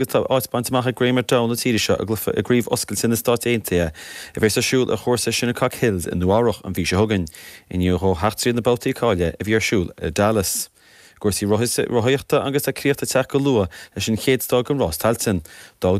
Agus tá áit bainte amach ag Graeme McDowell na tíre seo i gcluiche i gCraobh Oscailte na Stát Aontaithe a bheas ar siúl ar chúrsa Shinnecock Hills i Nua-Eabhrac an mhí seo chugainn, i ndiaidh dhó theacht tríd na babhtaí cáilithe a bhí ar siúl i Dallas. I gcúrsaí rothaíochta agus tá críoch ag teacht go luath leis an chéad stáid den Rás Tailteann. D'fhág na.